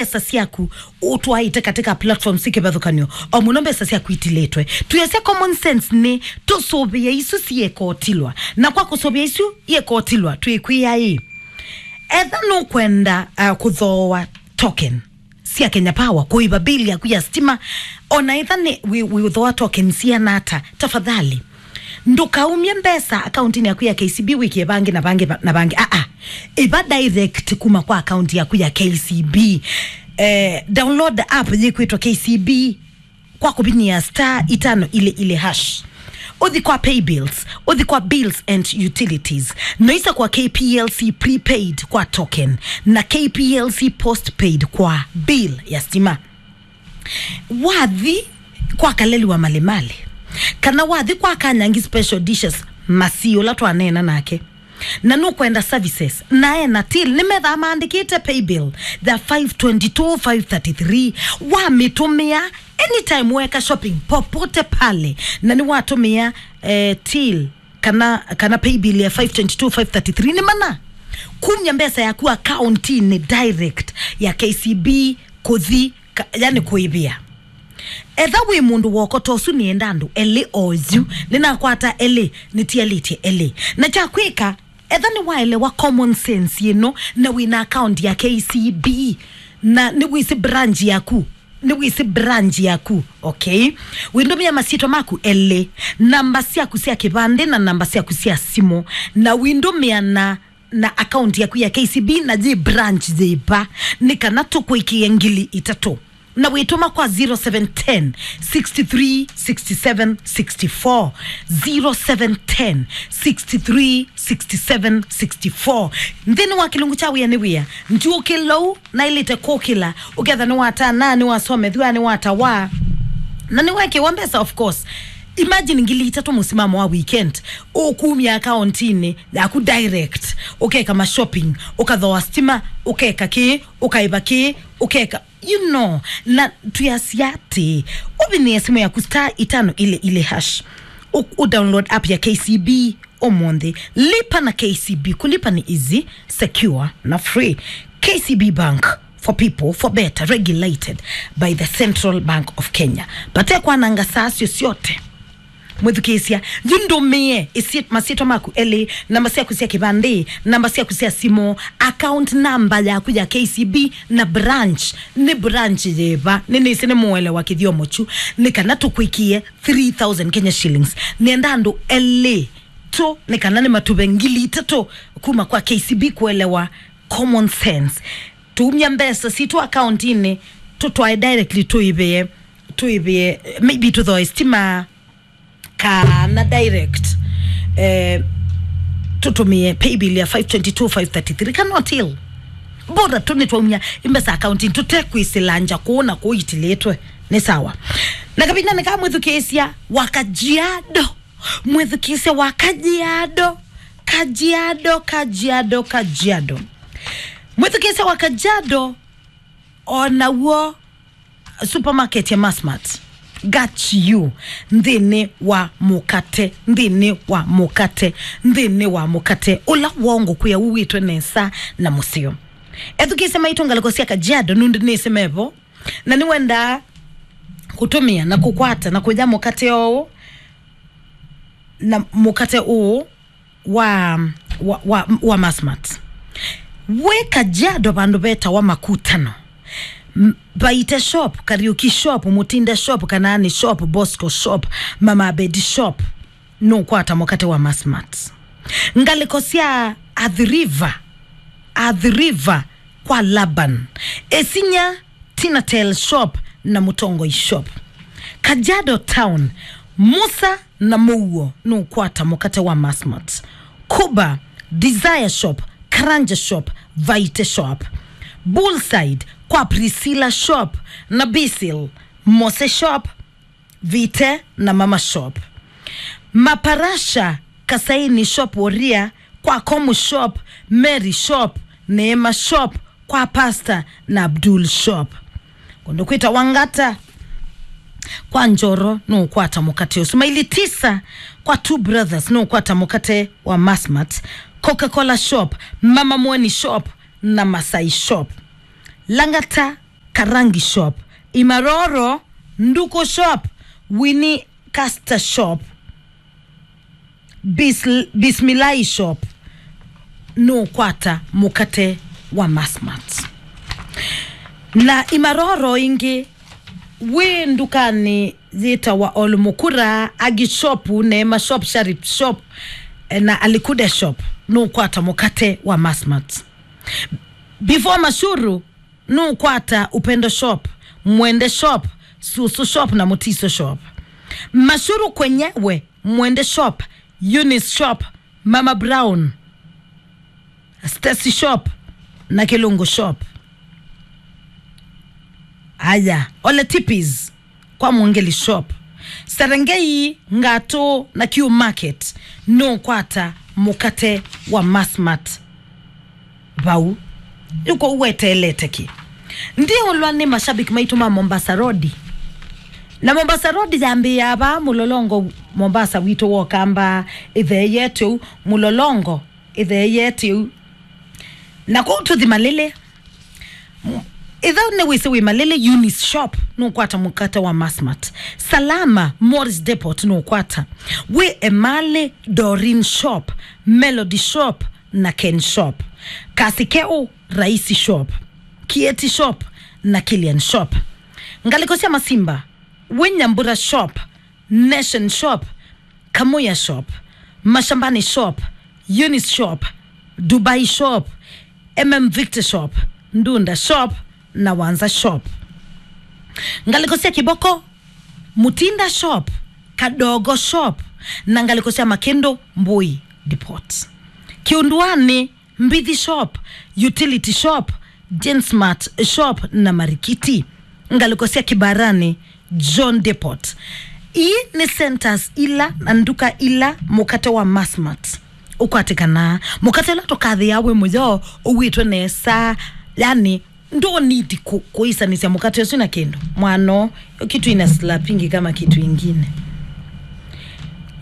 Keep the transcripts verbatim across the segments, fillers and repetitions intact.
mbesa syaku ũtwaĩte katika platform syĩ kĩvathũkany'o, o mũno mbesa syaku itilĩtwe. Twĩasya common sense nĩ tũsũvĩe isu syĩkotilwa, na kwa kũsũvĩa isu iĩkotilwa twĩkwĩa ĩ, etha nũkwenda uh, kũthooa token sya Kenya Power, kũĩva bill yaku ya stima, ona etha nĩ wĩ- wĩũthooa token siana ata, tafadhali ndũkaumye mbesa akauntinĩ yaku ya K C B wĩkĩe vangĩ na vangĩ va- na vangĩ. Aa, ĩva direct kuma kwa akaunti yaku ya K C B. Eh, download app yĩkwĩtwa K C B kwa kũvinyĩa star itano ile ile hash. Ũthi kwa pay bills, ũthi kwa bills and utilities, noisa kwa K P L C prepaid kwa token na K P L C postpaid kwa bill ya stima. Wathi kwa Kaleli wa Malimali, kana wathi kwa Kanyangi Special Dishes, Masi ũla twaneena nake, na nũkwenda services, na ena till, nĩmethaa maandĩkĩte paybill ya five twenty-two five thirty-three. Wamĩtũmĩa anytime weka shopping popote pale, na nĩwatũmĩa eh, till kana, kana paybill ya five twenty-two five thirty-three, nĩ mana kumya mbesa yaku akauntinĩ direct ya K C B kũthi ka- yani kũĩvĩa. Etha wĩ mũndũ wokota ũsu, nĩenda andũ elĩ oyu, nĩnakwata elĩ, nĩtialĩtye elĩ. Na kya kwĩka, etha nĩwaelewa common sense ĩno na wĩna account ya K C B, na nĩwĩsĩ branch yaku, nĩwĩsĩ branch yaku, okay? Wĩndũmĩa masyĩtwa maku elĩ, namba syaku sya kĩvandĩ na namba syaku sya simũ, na wĩndũmĩa na na account yaku ya K C B na yĩ branch yĩva, nĩ kana tũkũĩkĩe ngili itatũ. Na wĩtũma kwa zero seven ten, six three, six seven, six four, zero seven ten, six three, six seven, six four. Nthĩnĩ wa kĩlungu kya wĩa nĩ wĩa, ndyũkĩlou naĩlĩte kũkĩla, ũketha nĩwatana, nĩwasomethw'a, nĩwatawa, na nĩwekĩwa mbesa, of course. Imagine ngili itatũ mũsimamo wa weekend, ũkumya akauntinĩ yaku direct, ũkeka mashopping, ũkathoa stima, ũkeka kĩĩ, ũkaĩva kĩĩ, ũkeka, you know, na twĩasya atĩ, ũvinyĩe simũ yaku star itano ile ile hash, u, u download app ya K C B ũmũnthĩ. Lipa na K C B, kulipa ni easy, secure na free. K C B Bank, for people, for better, regulated by the Central Bank of Kenya. Vate kwananga saa syo syote. Mwĩthukĩĩsya, yu ndũmĩe ĩsyĩ- masyĩtwa maku elĩ, namba syaku sya kĩvandĩ, namba syaku sya simũ, account number yaku ya K C B, na branch. Nĩ branch yĩva? Nĩnĩsĩ nĩmũelewa kĩthyomo kyu, nĩ kana tũkwĩkĩe three thousand Kenya shillings. Nĩenda andũ elĩ tu, nĩ kana nĩmatũve ngili itatũ kuma kwa K C B kũelewa common sense. Tumya mbesa sitũ akauntinĩ, tũtwae directly, tũĩvĩe, tũĩvĩe, maybe tũthoe stima, kana direct, eh, tũtũmĩe paybill ya five twenty-two five thirty-three kana till. Bora tu nĩtwaumya imbesa akauntinĩ, tũtekwĩsĩla nja kũũ na kũũ itilĩtwe. Nĩ sawa. Na kavindanĩ kaa, mwĩthukĩĩsya wa Kajiado, mwĩthukĩĩsya wa Kajiado, Kajiado, Kajiado, Kajiado, mwĩthukĩĩsya wa Kajiado, o naw'o supermarket ya Massmart got you nthĩnĩ wa mũkate, nthĩnĩ wa mũkate, nthĩnĩ wa mũkate ũla woo ngũkwĩa uĩtwe nesa na mũseo. Ethukĩĩsya maitũ ngalĩko sya Kajiado, nũndũ nĩsĩ mevo, na nĩwendaa kũtũmĩa na kũkwata na kũya mũkate ũũ, na mũkate ũũ wa, wa, wa, wa Massmart. Wĩ Kajiado vandũ vetawa Makutano. M-, Vaite Shop, Kariuki Shop, Mutinda Shop, Kanaani Shop, Bosco Shop, Mama Abedi Shop, nũkwata mũkate wa Massmart. Ngalĩko sya Athi River, Athi River kwa Laban. Isinya, Tinatel Shop na Mũtongoi Shop. Kajiado Town, Musa na Mũuo nũkwata mũkate wa Massmart. Kuba, Desire Shop, Karanja Shop, Vaite Shop. Bullside, kwa Priscilla Shop na Basil, Mose Shop, Vite na Mama Shop. Maparasha, Kasaini Shop, Woria, kwa Komu Shop, Mary Shop, Neema Shop, kwa Pastor na Abdul Shop. Kũndũ kwĩtawa Ngata, kwa Njoro nũkwata mũkate ũsu. Maili tisa, kwa Two Brothers nũkwata mũkate wa Massmart. Coca-Cola Shop, Mama Mweni Shop na Masai Shop. Langata, Rangi shop, Imaroro, Nduku shop, Winnie Caster shop, Bis-, Bismillah shop, nũkwata mũkate wa Massmart. Na Imaroro ĩngĩ, wĩ ndukanĩ yĩtawa Olmukura, Agi shop, Neema shop, Sharif shop, eh, na Alikuda shop, nũkwata mũkate wa Massmart. Before Mashuru, nũkwata Upendo shop, Mwende shop, Susu shop na Mutiso shop. Mashuru kwenyewe, Mwende shop, Eunice shop, Mama Brown, Stacy shop na Kilungu shop. Aya, Ole Tipis kwa Mwongeli shop. Serengei, Ngatu na Q Market, nũkwata mũkate wa Massmart vau. Yu kũu weteelete kĩ? Ndiũlwa nĩ mashabiki maitũ ma Mombasa Road. Na Mombasa Road yambĩĩa vaa Mũlolongo, Mombasa witũ wokamba ĩtheeyete ũu, Mũlolongo ĩtheeyete ũu. Na kũu tũthi Malili. M-, ĩtha nĩwĩsĩ wĩ Malili, Eunice shop, nũkwata mũkate wa Massmart. Salama, Morris Depot, nũkwata. Wĩ Emali, Doreen shop, Melody shop, na Ken shop. Kasikeu, Raisi shop, Kieti shop, na Kilian shop. Ngalĩko sya Masimba, wĩ Nyambura shop, Nation shop, Kamuya shop, Mashambani shop, Eunice shop, Dubai shop, M M Victor shop, Ndunda shop, na Wanza shop. Ngalĩko sya Kiboko, Mutinda shop, Kadogo shop, na ngalĩko sya Makĩndũ, Mbui Depot. Kiunduani, Mbithi shop, Utility shop, Gensmart shop na Marikiti. Ngalĩko sya Kibarani, John Depot. Ii nĩ centers ila na nduka ila mũkate wa Massmart ũkwatĩkanaa. Mũkate ũla tũkathĩaa wĩ mũyoo, ũwĩtwe nesa, yani, ndũ need kũ-, kũisanĩsya mũkate ũsu na kĩndũ. Mwano, yo kitu ina slap ingi kama kitu ingine.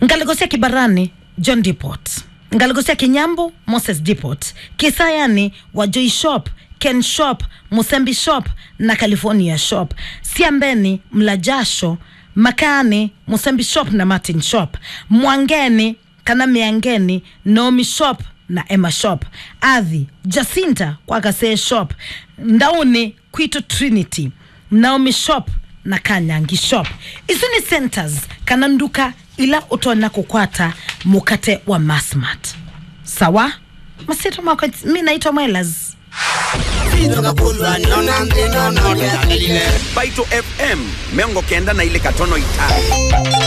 Ngalĩko sya Kibarani, John Depot. Ngalĩko sya Kinyambu, Moses Depot. Kisayani, Wajoi shop, Ken shop, Musembi shop, na California shop. Siambeni, Mlajasho. Makani, Musembi shop na Martin shop. Mwangeni, kana Mĩangeni, Naomi shop na Emma shop. Athi, Jacinta kwa Kasee shop. Ndauni, Kwitũ Trinity, Naomi shop na Kanyangi shop. Isu nĩ centers kana nduka ila ũtonya kũkwata mũkate wa Massmart. Sawa? Masyĩtwa makwa, mi naitwa Mwelas. Baito F M, mĩongo kenda na ilĩ katono itano.